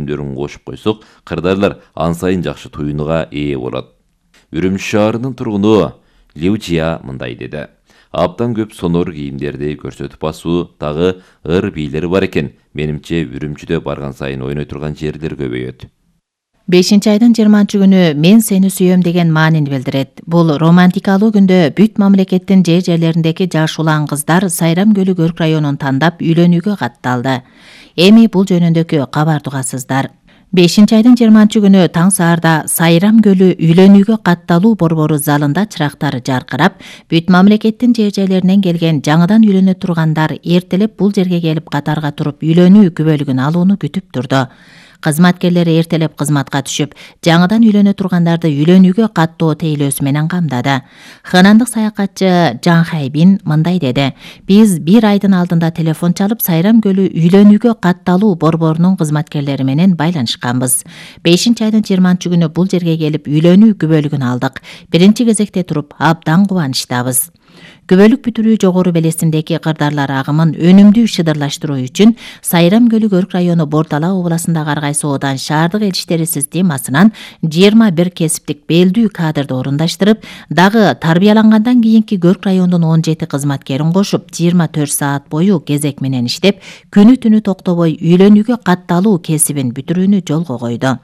өнүмдөрүн кошуп койсок, кырдаарлар ан сайын жакшы туюнуга ээ болот. Үрүмчү шаарынын тургуну Лю Жия мындай деди. Аптан көп сонор кийимдерди көрсөтүп басуу дагы ыр бийлери бар экен. Менимче Үрүмчүдө барган сайын ойной турган жерлер көбөйөт. 5-айдын 20-күнү мен сени сүйөм деген маанини билдирет. Бул романтикалуу күндө бүт мамлекеттин жерлериндеги жаш улан кыздар Сайрам Көлү Көрк районун тандап үйлөнүүгө катталды. Эми бул жөнүндөгү кабарды угасыздар. 5-айдын 20-күнү таң саарда Сайрам Көлү үйлөнүүгө катталуу борбору залында чырактары жаркырап, бүт мамлекеттин жерлеринен келген жаңыдан үйлөнө тургандар эртелеп бул жерге келип катарга туруп үйлөнүү күбөлүгүн алууну күтүп турду. Кызматкерлери эртелеп кызматка түшүп, жаңыдан үйлөнө тургандарды үйлөнүүгө каттоо тейлөөсү менен камдады. Ханандык саякатчы Жан Хайбин мындай деди. Биз 1 айдын алдында телефон чалып, Сайрам Көлү үйлөнүүгө катталуу борборунун кызматкерлери менен байланышканбыз. 5-айдын 20-күнү бул жерге келип үйлөнүү күбөлүгүн алдык. Биринчи кезекте туруп абдан кубанычтабыз. Күбөлүк бүтүрүү жогору белесиндеги кырдаарлар агымын өнүмдүү шыдырлаштыруу үчүн Сайрам Көлү Көрк району Бордала областындагы ар кайсы оодан шаардык элчиштери системасынан 21 кесиптик белдүү кадрды орундаштырып, дагы тарбиялангандан кийинки Көрк районунун 17 кызматкерин кошуп 24 саат бою кезек менен иштеп, күнү түнү токтобой үйлөнүүгө катталуу кесибин бүтүрүүнү жолго койду.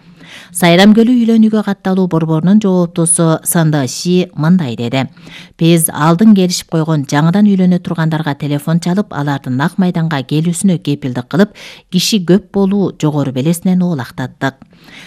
Сайрам Көлү үйлөнүүгө катталуу борборунун жооптусу Санда Ши мындай деди. Биз алдын келишип койгон жаңыдан үйлөнө тургандарга телефон чалып, алардын ак майданга келүүсүнө кепилдик кылып, киши көп болуу жогору белесинен оолактаттык.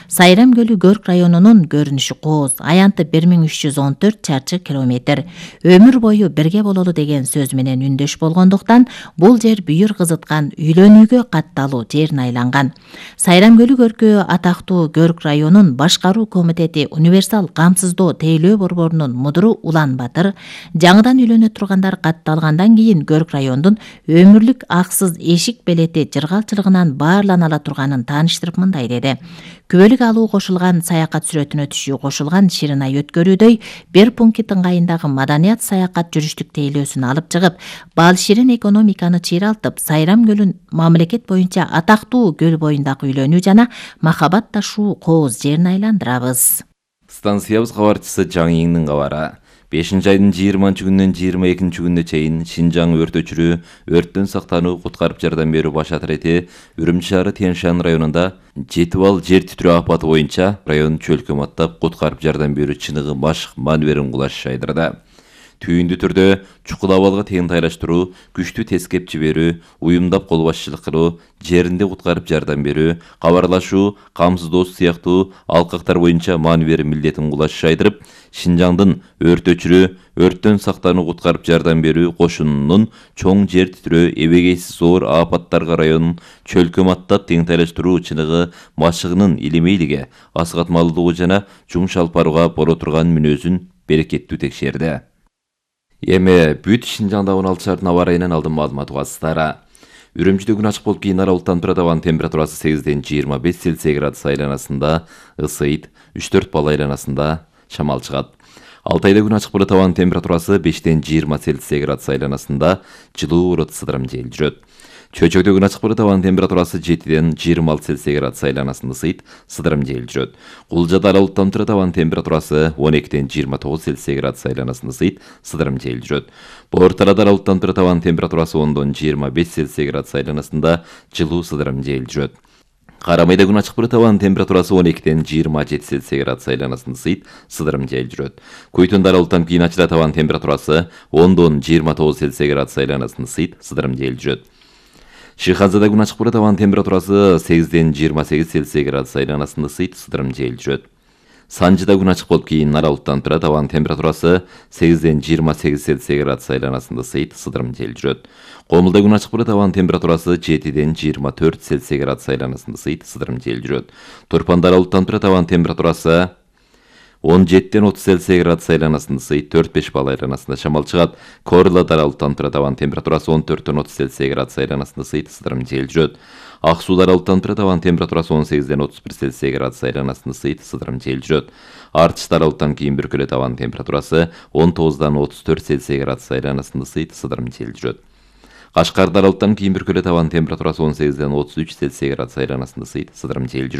Сайрам Көлү Көрк районунун көрүнүшү кооз, аянты 1314 чарчы километр. Өмүр бою бирге бололу деген сөз менен үндөш болгондуктан, бул жер бүйүр кызыткан үйлөнүүгө катталуу жерине айланган. Сайрам Көлү Көркү атактуу Көрк районун башкаруу комитети универсал камсыздоо тейлөө борборунун мудуру Улан Батыр, жаңыдан үйлөнө тургандар катталгандан кийин Көрк райондун өмүрлүк аксыз эшик белети жыргалчылыгынан баарлана ала турганын тааныштырып мындай деди. Күбөлүк алуу кошулган саякат сүрөтүнө түшүү кошулган Ширинай өткөрүүдөй бир пункт ыңгайындагы маданият саякат жүрүштүк тейлөөсүн алып чыгып, бал ширин экономиканы чыйралтып, Сайрам Көлүн мамлекет боюнча атактуу көл боюндагы үйлөнүү жана махабат ташуу кооз жерин айландырабыз. Станциябыз кабарчысы Жаң Иңдин кабары. 5-айдын 20-күнүнөн 22-күнүнө чейин Шинжаң өрт өчүрүү, өрттөн сактануу, куткарып жардам берүү баш атрети Үрүмчү шаары Тянь-Шань районунда 7 балл жер титирөө апаты боюнча район чөлкөм аттап куткарып жардам берүү чыныгы машык маневрин кулаш жайдырды. Түйүндүү түрдө чукул абалга тең тайраштыруу, күчтүү тескеп жиберүү, уюмдап кол башчылык кылуу, жеринде куткарып жардам берүү, кабарлашуу, камсыздоо сыяктуу алкактар боюнча маневр милдетин кулаш жайдырып, Шинжаңдын өрт өчүрүү, өрттөн сактануу, куткарып жардам берүү кошунунун чоң жер титирөө, эбегейсиз оор апаттарга районун чөлкөм аттап тең тайраштыруу чыныгы машыгынын илимейлиге, асыгатмалуулугу жана жуң шалпарууга боло турган мүнөзүн берекеттүү текшерди. Эми бүт Шинжаңда 16 шаардын аба ырайынан алдын маалымат угасыздар. Үрүмчүдө күн ачык болуп кийин аралыктан турат, абанын температурасы 8-ден 25 Цельсий градус айланасында ысыйт, 3-4 балл айланасында шамал чыгат. Алтайда күн ачык болот, абанын температурасы 5-ден 20 Цельсий градус айланасында жылуу урут сыдырым жел жүрөт. Чөчөктө күн ачык болот, абанын температурасы 7-ден 26 Цельсий градус айланасында ысыйт, сыдырым жел жүрөт. Кулжада аралыктан турат, абанын температурасы 12-ден 29 Цельсий градус айланасында ысыйт, сыдырым жел жүрөт. Бортарада аралыктан турат, абанын температурасы 10-дон 25 Цельсий градус айланасында жылуу сыдырым жел жүрөт. Карамайда күн ачык болот, абанын температурасы 12-ден 27 Цельсий градус айланасында ысыйт, сыдырым жел жүрөт. Көйтөндө аралыктан кийин ачылат, абанын температурасы 10-дон 29 Цельсий градус айланасында ысыйт, сыдырым жел жүрөт. Шыханзада күн ачык болот, абанын температурасы 8-ден 28 Цельсий градус айланасында ысыйт, сыдырым жел жүрөт. Санжыда күн ачык болуп кийин аралыктан турат, абанын температурасы 8-ден 28 Цельсий градус айланасында ысыйт, сыдырым жел жүрөт. Комулда күн ачык болот, абанын температурасы 7-ден 24 Цельсий градус айланасында ысыйт, сыдырым жел жүрөт. Турпанда аралыктан турат, абанын температурасы 17-ден 30 Цельсий градус айланасында ысыйт, 4-5 балл айланасында шамал чыгат. Корлада аралыктан турат, абанын температурасы 14-ден 30 Цельсий градус айланасында ысыйт, сыдырым жел жүрөт. Ак сууда аралыктан турат, абанын температурасы 18-ден 31 Цельсий градус айланасында ысыйт, сыдырым жел жүрөт. Артышта аралыктан кийин бүркөлөт, абанын температурасы 19-дан 34 Цельсий градус айланасында ысыйт, сыдырым жел жүрөт. Кашкарда аралыктан кийин бүркөлөт, абанын температурасы 18-ден 33 Цельсий градус айланасында ысыйт, сыдырым жел жүрөт.